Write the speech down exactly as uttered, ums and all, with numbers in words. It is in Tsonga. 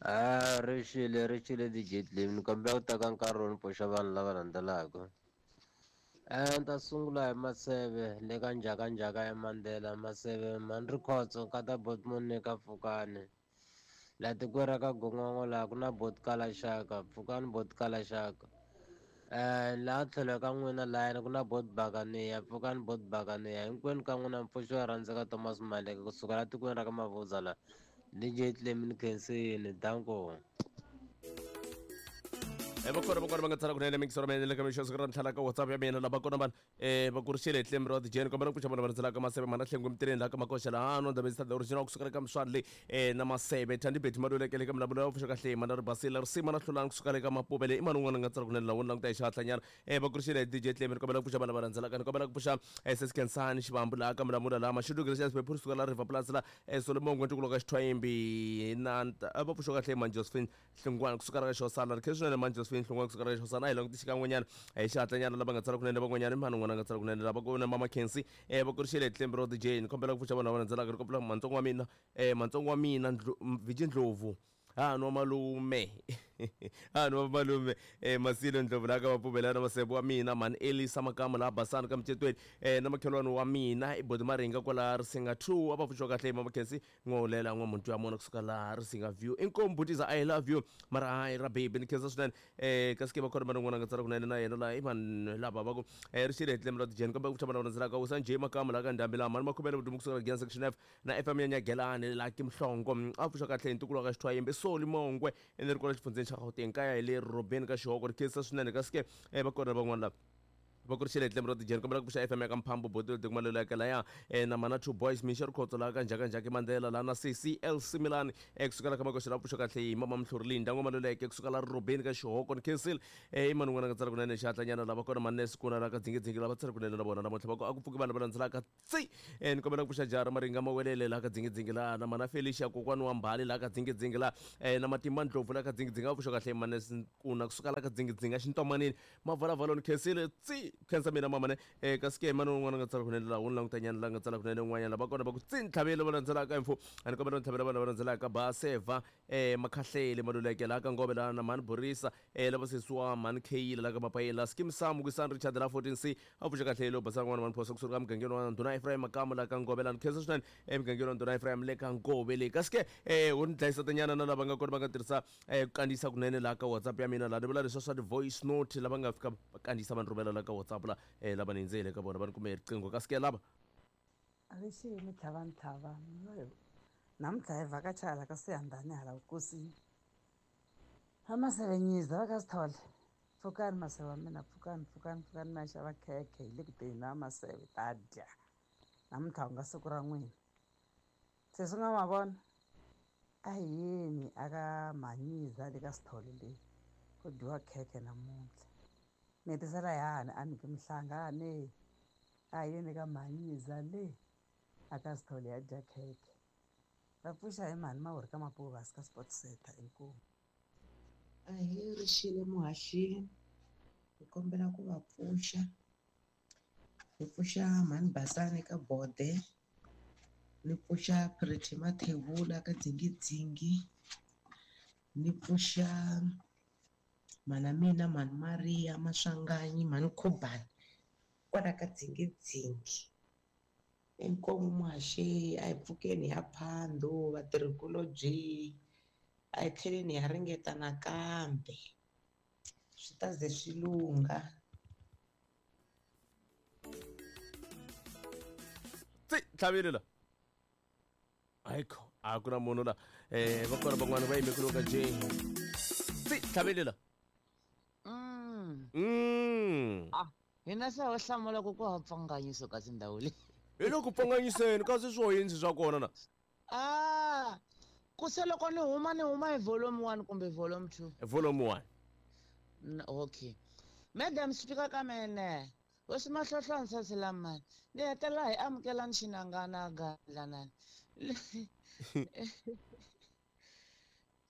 A ri xile ri xile D J Clem, ni kombela ku teka nkarhi wo ni pfuxa vanhu lava landzelaka. Ni ta sungula hi Maseve le ka njhakanjhaka ya Mandela. Maseve mani Rikhotso nkata Botmon ka Pfukani. Laha tikweni ra ka Gongongo laha ku na bot Kalaxaka, Pfukani bot Kalaxaka. Laha tlhelo ka n'wina lahayani ku na bot Bakaniya, Pfukani bot Bakaniya. Hinkwenu ka n'wina mpfuxo wa rhandzeka Thomas Maleke kusuka laha tikweni ra ka Mavuza laha. D J Clem, ni khensini, danko. E va kona va kona va nga tsala kunene mingisoro mina le ka mixo siku ra ntlhanu ka WhatsApp ya mina. Lava kona vanhu eh va kurixile hi Clem ra D J. Kombela ku pfuxa vona va landzelaka: Maseve mana Hlengo Mitireni laha ka Makoxa laha no Ndabezitha the original kusuka ka Mswani le eh na Maseve Thandi Beti Maluleke le ka Mulamulo ya pfuxa kahle mana Ribasile Risima na Hlulani kusuka le ka Mapuvele. I mani un'wana nga tsala kunene laha wo languta hi xihatlanyana? eh va kurixile hi D J Clem. Kombela ku pfuxa vana va landzelaka. Ni kombela ku pfuxa eh Sesikhensani Xivambu laha ka Mulamula laha Mashudu Gracious Pephuri kusuka la River Plus la eh Solomon Ngwentukulo ka Xithwayimbi na va pfuxa kahle man Josephine Hlungwana kusuka ka Xosana. Ri khensa swinene man Josephine Hlungwana kusuka ka Xosana. A hi languti xikan'wenyana hi xihatlanyana lava nga tsala kunene van'wanyana. I mani un'wana a nga tsala kunene? Lava ku na Mama Kensi. eh va kurixile hi Clem ro D J. Ni kombela ku pfuxa vanhu lava landzelaka. Ri kombela mantsongo wa mina eh mantsongo wa mina Viji Ndlovu, ha nwa malume, ha nwa malume eh Masilo Ndlovu la ka Mapuvela na Masebo wa mina mani Elisa Makamu la Basani ka Mcetweni eh na makhelwani wa mina i Bodi Maringa kwala Risinga two. A va pfuxiwa kahle Mama Kensi n'wahulela n'wamuntu ya mona kusuka laha Risinga View. Inkomu butiza, I love you mara hayi ra baby, ni khensa swinene. eh kasi ke va khona vana n'wana nga tsala kunene na yena laha i vanhu lava va ku eh ri xile hi Clem ra D J. Kambe ku pfuxa vana va landzelaka: Usa Njhe Makamu la ka Ndhambi laha mani Makhuvele Vudumu kusuka la Giyan Section F na F M ya Nyagelani laha Kimhlongo. A pfuxa kahle hi ntukulu wa ka Xithwayimbi Soli Mongwe ene ri kwala xifundzeni xa Gauteng kaya hi le Robeni ka Xihoko. Ri khensa swinene. Kasi ke eh va kona van'wana lava va kurixile hi Clem ra D J. Kombela ku pfuxa F M ya ka Mphambo Botile Tikumalelo ya laya eh, na mana Two Boys Mixo Rikhotso laha ka Njhakanjhaka Mandela laha na C C L Similani eh, kusukela ka Makoxa la pfuxa kahle hi Mama Mhluri Linda N'wamaluleke kusuka la Robeni ka Xihoko. Ni khensile. eh, i mani un'wana nga tsala kunene xihatlanyana? Lava kona manesi kuna la ka Dzingidzingi lava tsala kunene na vona namuntlha va ku a ku pfuki vanhu va landzelaka tsi. eh, ni kombela ku pfuxa Jara Maringa Mawelele laha ka Dzingidzingi laha na mana Felicia kokwani wa Mbali laha ka Dzingidzingi laha eh, na Matimba Ndlopfu laha ka Dzingidzingi. A pfuxa kahle manesi kuna kusuka la ka Dzingidzingi xintomanini Mavalavalo. Ni khensile tsi, khensa mina mama ne. eh, kasi ke mani un'wana nga tsala kunene laha wu ni langutanyana la nga tsala kunene un'wanyana? Lava kona va ku tsi ntlhavelo va landzelaka info. A ni kombela ntlhavelo vanhu va landzelaka: Baseva eh, Makhahlele Maluleke laha ka Ngove laha na mhani Borisa eh, lava sesiwa mhani Kheyila laha ka Mapayela Skim Sam Kwisani Richard laha fourteen C. A pfuxa kahle lo basana n'wana mhani Phosa kusuka ka mugangeni wa Ndhuna Ephraim Makamu laha ka Ngove laha. Ni khensa swinene emugangeni wa Ndhuna Ephraim le ka Ngove leyi. Kasi ke eh, wu ni dlayisa tanyana na lava nga kona va nga tirhisa eh, ku kandziyisa kunene laha ka WhatsApp ya mina laha ni vula leswa swa ti-voice note lava nga fika va kandziyisa va ni rhumela laha ka WhatsApp la eh, lava ni hindzele ka vona va ni kume riqingho. Kasi ke lava Avexeni tlhava ntlhava, namuntlha hi vhakacha hala ka Siyandhani hala vukosini. Va Masevenyiza va ka Sithole, pfukani maseve wa mina, pfukani, pfukani, pfukani mi ya xava khekhe, hi le ku teni na Maseve ta dya namuntlha ku nga siku ra n'wina. Se swi nga ma vona a hi yeni aka Mhanyiza le ka Sithole le ku dyiwa khekhe namuntlha. Mi hetisela hi hahani a niki mihlangane a hi yeni ka Mhanyiza le aka Sithole ya dya khekhe. Va pfuxa hi mhani Mawuri ka Mapuvasi ka Sport Center, inkomu. Ahee, rixile muhaxi, hi kombela ku va pfuxa. Hi pfuxa mhani Basani ka Bode, ni pfuxa Pretty Mathebula ka Dzingidzingi, ni pfuxa mhana mina mhani Maria Maswanganyi mhani Khubani kwala ka Dzingidzingi. Inkomu muhaxi, a hi pfukeni hi ya Phando vatirhikulobye, a hi tlheleni hi ya ringeta nakambe swi ta ze swi lungha. Tsi tlhavile la ayikho a ku na munhu la eh va kona van'wana va yime ku ka J tsi tlhavile la. Mm. mm Ah, hina se ho hlamula ku ku ha pfanganyiso ka tindhawu leyi. Hi le ku pfanganyiseni kasi swo yini swa kona na? Ah, ku se loko ni huma ni huma hi volume one kumbe volume two? Volume one. N- okay madam speaker ka mene hosi Mahlohlo lamani ni hetelela hi amukelani xinangana gandla nani.